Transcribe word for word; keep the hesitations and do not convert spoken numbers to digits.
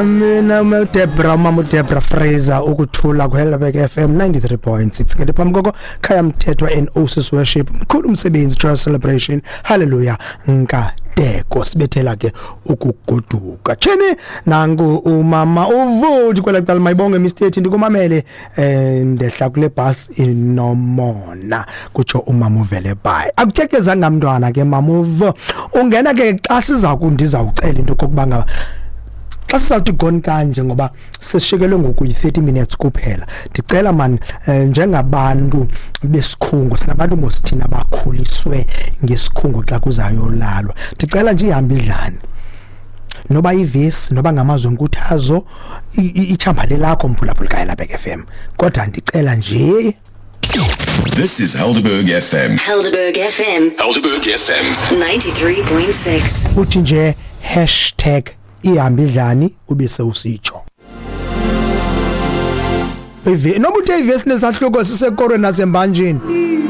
Mina uDebra, umama uDebra Fraser, ukuthula kuHelberg F M ninety-three point six. Ngeke phambi koko Khaya Mthethwa and Oasis Worship, mkhulu umsebenzi, Joy Celebration, hallelujah, nkateko sibethela ke ukugoduka. Chini nangu umama uvuthi kwela cala, mayibonge Mister ndikumamele, eh ndehla kule bus inomona, kutsho umama uvele bye. Akuthekezanga mntwana ke mama uvo ungena ke xa siza kundiza ucela into kokuba ngaba xa sizawuthi gone kanje, ngoba sesishikelwe ngoku yi-thirty minutes kuphela. Ndicela man, eh, njengabantu besikhungo, singabantu mos thina abakhuliswe ngesikhungo, xa kuzayolalwa ndicela nje ihambe idlane, noba ivesi, noba ngamazwi enkuthazo, ichambale lakho mphulaphula kaHelberg F M, kodwa ndicela nje. This is Helderberg F M. Helderberg F M. Helderberg F M. ninety-three point six. Uthi nje hashtag ihamba idlani, ube sewusitsho ive noba uthe ivesi nesahluko sisekorweni nasembanjeni.